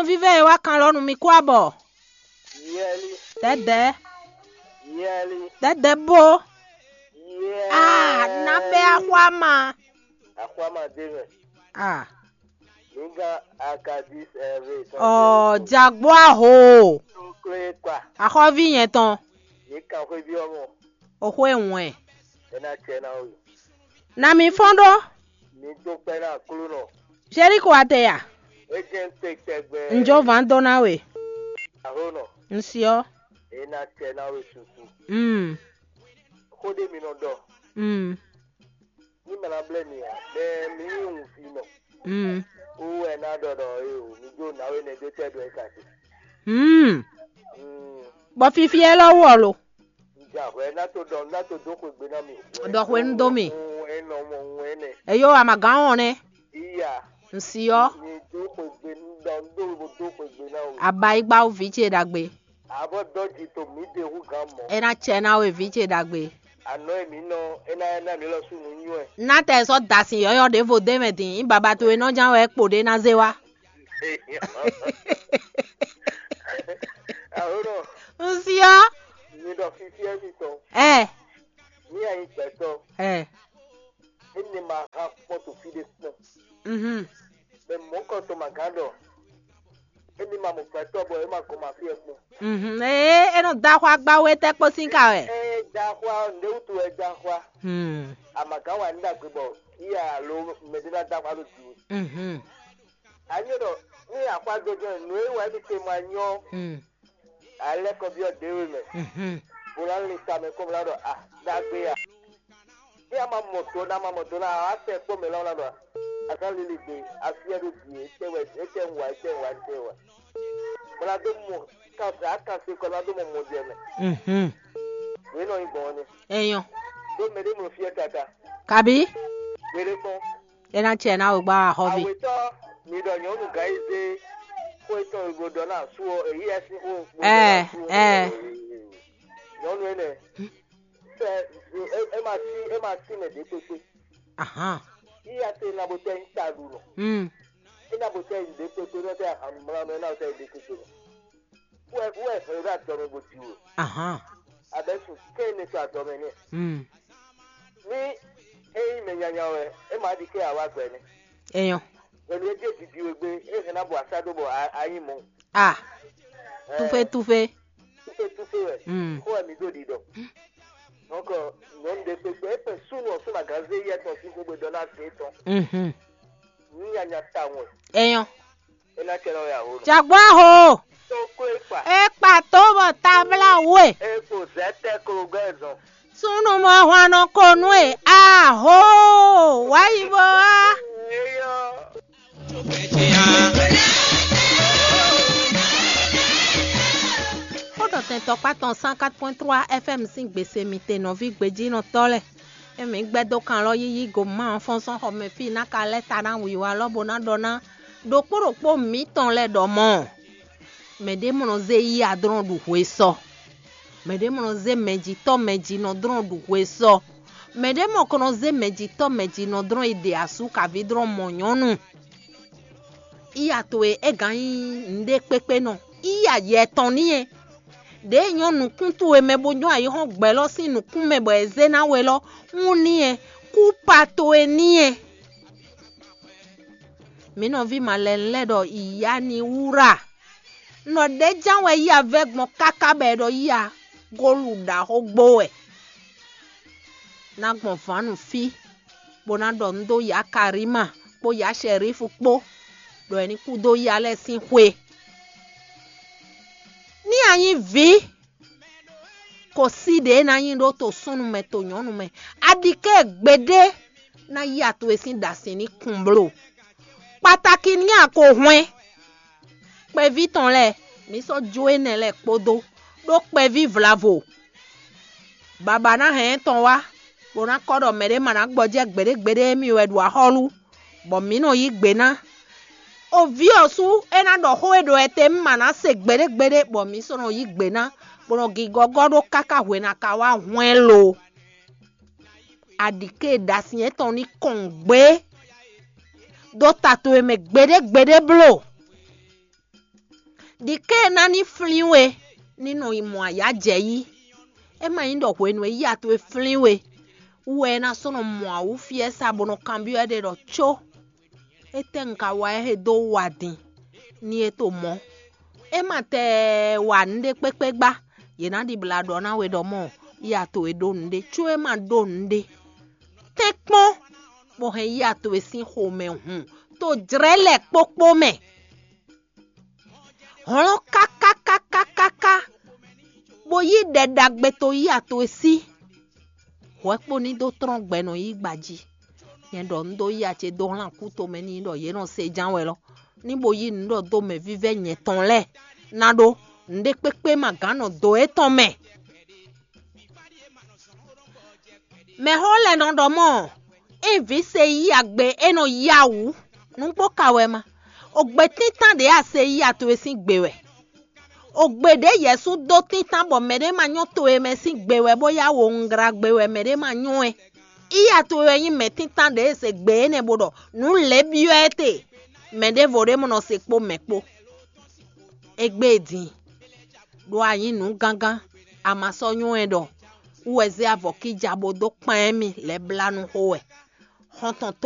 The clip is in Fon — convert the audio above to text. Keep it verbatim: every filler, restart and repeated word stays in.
Vívɛ e wá kan lɔ nú mi kú abɔ. Yɛli, Dɛdɛ, yɛli, dɛdɛ bó. Yɛli. Ah, na bɛ axwa ma. Axwa ma dé mɛ. Ah, Nígá Akadis Ɛvɛ. Ɔ, jagbó aho. Klé kpa. Axɔvi yẹn tɔn. Ní kan xwé bí ọmọ. Oxó e wɛn. É ná cɛ ná wí. Na mi fɔ́n ɖó. Mi dó kpɛ́ ná Aklúnɔ. Jeriko ate ya. É jẹ́ ń pe tɛgbɛ. N jó van dó ná we. Ahlonɔ. N siɔ. É ná cɛ ná we susu. Mm. Xó ɖé mi nɔ ɖɔ. Mm. Ní mɛ ná blɛ́ mi ǎ, mɛ mi nyí wǔnvínɔ. Mm. Wú wɛ ná ɖɔ ɖɔ é o, mi jó nǎwe nɛ dó tɛ́ ɖɔ é ka ce. Mm. Mm. Bɔ fifi élɔ́ wú ɔ lo. Un ja hwɛ ná tó ɖɔ ná tó dó xwegbe ná mi. Ɖɔ hwenu dó mi. Ŋu é nɔ mɔ ŋu é nɛ. Eyo amagán wɔn nɛ. Iya. N siɔ. Mi dó xwegbe ná dó dó xwegbe ná o. Abayigba wú vǐ ce ɖagbe. Abɔ dɔji to mi de hu gan mɔ. É ná cɛ ná we vǐ ce ɖagbe. Anɔ e mi nɔ, é ná ná mi lɔ su nu nyuɛ. Ná tɛ sɔ́ da sin yɔ́yɔ́ ɖěvo dé mɛ din, nyí baba towe nɔ ján wɛ kpo ɖé ná zé wá. Ahlonɔ, N siɔ. Mi ɖɔ fifiɛ mi tɔn. Ɛ. Mi anyi gbɛtɔ. Ɛ. Emi ma ha kpɔn to fi ɖe kpɔn. Mhm. Mɛ mɔ̌kɔtɔn ma gán ɖɔ. Emi ma mɔ gbɛtɔ bɔ é ma gɔn ma fi ɛ kpɔn. Mhm. Ee, é nɔ da xɔ agbawo etɛ́ kpó sín ka wɛ. Ɛ da xɔ ɔ, nɖe wutu ɛ da xɔ a? Hmm. Amagán wa ní ɖagbe bɔ iya alo mɛ ɖé ná da xɔ alo jǐ. Mhm. Anyɔ ɖɔ ní axwa dó jɔ nǔ e wa émi te ma nyɔ. Hmm. Alɛkɔbyɔ́ ɖě we mɛ. Mhm. Bó ná lin ta mɛ kɔn bó ná ɖɔ a ɖagbe a. Ní a ma mɔ do ná ma mɔ do ná a wá tɛ kpɔ́ mɛ lɔ́ ná ɖɔ a ká lili gbe afi ɛ ɖo bǐ etɛ́ wɛ etɛ́ ń wa etɛ́ ń wa etɛ́ ń wa. Bó ná dó mɔ kan a kan se kɔ ná dó mɔ mɔ jɛ mɛ. Mhm. Wě nɔ nyí gbɔn ɔ́ nɛ. Enyɔ. Ɖó mɛ ɖé mlɔ fí ɛ káká. Kabi. Wě ɖé kpɔ́n. É ná cɛ ná wegba wá xɔvi. Awetɔ mi ɖɔ nyɔnu Gayize xó etɔn e bo ɖɔ ná asu ɔ èyí ɛ sín xó. Ɛ, ɛ. Nyɔnu énɛ́. Sɛ é é ma sí é ma sí mɛ ɖě kpékpé. Ahan. Iya te na bo tɛ ń ta ɖu nɔ. Mm. É na bo tɛ ń ɖě kpékpé nɔ tɛ ahan mlá nɔ é na bo tɛ ń ɖě kpékpé nɔ. Wɛ wɛ hɛn ɖo adɔ mɛ bo di o. Ahan. Abɛ sun kɛ ne to adɔ mɛ nɛ. Mm. Ní é nyí mɛ nyanya wɛ, é ma ɖi kɛ awa gbɛ nɛ. Enyɔ. Hwenu e jɛ didi we gbé, é hɛn ná bɔ asá ɖó bɔ a- a nyí mɔ. Ah. Ɛ, Tufe tufe. Tufe tufe wɛ. Mm. Xó wɛ mi ɖó ɖiɖɔ. Donc, nyɔnu ɖe kpekpe, é kpɛ súnnu ɔ́ súnnu agánzé yɛ tɔn sín xó gbe ɖɔ ná zé tɔn. Mhm. Ní nyanya tawun wɛ. Enyɔ. É ná cɛ ná wɛ aho nɔ. Jagbɔ aho. Tó kó é kpa. E kpa tó bɔ tabla we. É kpo zɛ tɛ klo gbɛ zɔn. Súnnu mɔ hwan nɔ ko nú e. Aho. Wáyi bó wá. Eyɔ. Xó ɖɔ tɛn tɔkpá tɔn cent quatre point trois F M sín gbèsè mi te nɔví gbejínɔtɔ́ lɛ́ɛ. Emi gbɛ́ dó kan lɔ yíyí go má ɔ́ fɔ́n sɔ́n xɔ mɛ fí ná ka lɛ́ ta ná wǐwá lɔ́ bó ná ɖɔ ná ɖokpó ɖokpó mǐtɔn lɛ́ɛ ɖɔ mɔ̌. Mɛ ɖě mɔ nɔ zé yí adrɔ́n ɖu hwe sɔ. Mɛ ɖě mɔ nɔ zé mɛjitɔ́ mɛjinɔdrɔ́n ɖu hwe sɔ. Mɛ ɖě mɔ ko nɔ zé mɛjitɔ́ mɛjinɔdrɔ́n yi ɖe asú kaví dlɔ́n mɔ nyɔ̌nu. Iya towe é gǎn nyí nǔɖé kpékpé nɔ. Iya yɛ tɔn n'i é. Ɖěe nyɔ́ nǔkún towe mɛ bó nyɔ́ ayǐhɔ́ngbe lɔ sín nǔkún mɛ bɔ è zé ná we lɔ, wún n'i é. Kú pa towe n'i é. Mǐ nɔví malɛnu lɛ́ɛ ɖɔ ìyá ní wúrà. Un ɖɔ ɖěján wɛ yí avɛ́ gbɔn káká bɔ è ɖɔ yí a gólu ɖaxó gbó wɛ. Ná gbɔn vǎnu fí, bó ná ɖɔ nǔ dó yǎ Karima kpó yǎ Shɛrífu kpó, ɖɔ è ní kú dó yá lɛ́ɛ sín xwe. Ní a nyí vǐ, ko sí ɖě ná nyí ɖó to súnnu mɛ to nyɔ̌nu mɛ. A ɖi ké gbeɖé ná yí atowe sín ɖasin ní kun bló. Kpatakí ní a ko hwɛ́n. Kpɛví tɔn lɛ́ɛ, mǐ sɔ́ jó énɛ́ lɛ́ɛ kpódó, ɖó kpɛví vlavo. Baba ná hɛn ɛ tɔn wá, bó ná kɔ́ ɖɔ mɛɖé ma ná gbɔjɛ́ gbeɖé gbeɖé émí wɛ ɖo axɔ́lú, bɔ mǐ nɔ yí gbe ná. O vǐ ɔ́ sú é ná ɖɔ xó e ɖo ɛ te mí ma ná se gbeɖé gbeɖé, bɔ mǐ sɔ́ nɔ yí gbe ná, bó nɔ gigɔ́gɔ́ ɖó káká hwenu a ka wá hwɛ́n lo. Aɖǐké ɖasin étɔn ní kɔn gbé dó ta towe mɛ gbeɖé gbeɖé bló. Ɖi kɛ́n ná ní flín we ní nɔ yi mɔ ayǎ jɛ yí. É ma nyí ɖɔ hwenu e yíya towe flín we wú wɛ é ná sɔ́ nɔ mɔ awǔ fí ɛ sa bó nɔ kanbyɔ́ ɛ́ ɖe ɖɔ có étɛ́ un ka wa ɛ he dó wa din ní é to mɔ̌. É ma tɛ wa nǔɖé kpékpé gbá. Yě ná ɖibla ɖɔ ná we ɖɔ mɔ yíya towe ɖó nǔɖé có é ma ɖó nǔɖé. Tɛ́nkpɔ́n bó hɛn yíya towe sín xomɛ hun to jlɛ̌ lɛ̌ kpókpó mɛ. Hlɔ́n kákákákákáká bó yí ɖɛ ɖagbe to yíya towe sí. Hwɛ̌ kpo ní dó tlɔ́n gbɛ nɔ yí gba jí. Nyɛ ɖɔ un dó yíya ce dó hlán kú tomɛ n'i ɖɔ yě nɔ se ján wɛ lɔ ní bo yí nǔ ɖɔ dó mɛ vívɛ́ nyɛ tɔn lɛ́ɛ ná ɖó nǔɖé kpékpé ma gǎn nɔ dǒ étɔn mɛ. Mɛxó lɛ́ɛ nɔ ɖɔ mɔ é vǐ se yí agbe é nɔ yá wǔ nǔgbó ka wɛ ma. Ogbe títán ɖě a se yí a towe sín gbe wɛ. Ogbe ɖě Yɛsu dó títán bɔ mɛɖé ma nyɔ́ towe mɛ sín gbe wɛ bó yá wo ngla gbe wɛ mɛɖé ma nyɔ́ ɛ. Yí a towe wɛ nyí mɛ títán ɖě e se gbe énɛ́ bó ɖɔ nǔ lɛ́ɛ byɔ́ ɛ te. Mɛ ɖěvo ɖé mɔ nɔ se kpó mɛ kpó. Égbé din ɖó a nyǐ nǔ gángán, a ma sɔ́ nyɔ́ ɛ ɖɔ wú wɛ zé avɔ kíja bó dó kpán ɛ́ mi lɛ́ blá nú xó wɛ. Xɔ́ntɔn